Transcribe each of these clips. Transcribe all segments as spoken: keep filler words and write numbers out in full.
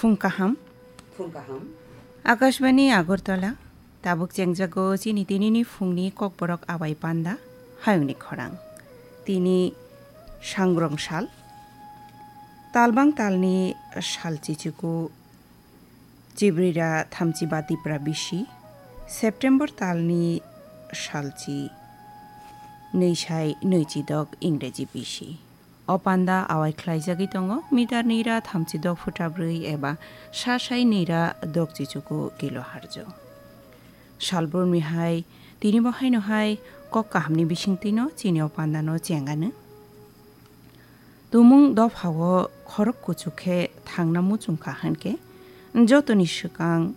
Phung kaham. Phung kaham. Akashbani Agartala, tabuk chengjago chini tinini phungni kokborok abai panda, hayungni khorang. Tini sangrong sal, talbang talni sal chichuku, Chibrira thamchi ba Tipra bisi, September talni salchi nwi sai nwichi dok Ingreji bisi. O panda awai khlaijagwi tongo, mitar nira thamchi dok phutra brwi eba sa sai nira dok chichuku kilo harjo. Salbrumni hai, tini bo haino hai kok kahamni bisingtwino chini o pandano chengano. Tumung dophao khorok kuchuk khe thangna muchung kha hwnkhe, jotoni swkang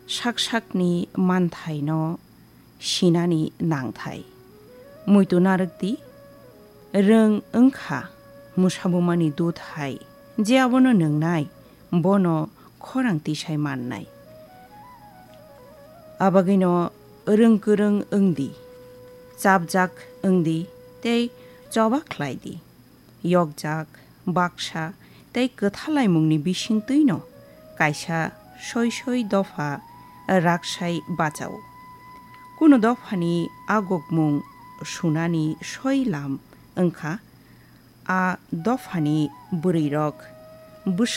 sak sakni manthaino sinani nangthai. Muitu narwkdi, rwng wngkha musabumani dut hai, je abono nwngnai, bono khorang tisai mannai. Abagwino rwng kwrwng wngdi, chapjak wngdi tei choba khlaidi. Yokjak, baksa tei kwthalaimungni bisingtwino kaisa soi soi dopha raksai bachao. Kunu dophani agukmung sunani soi lam wngkha, a dophani bwrwirok bwswk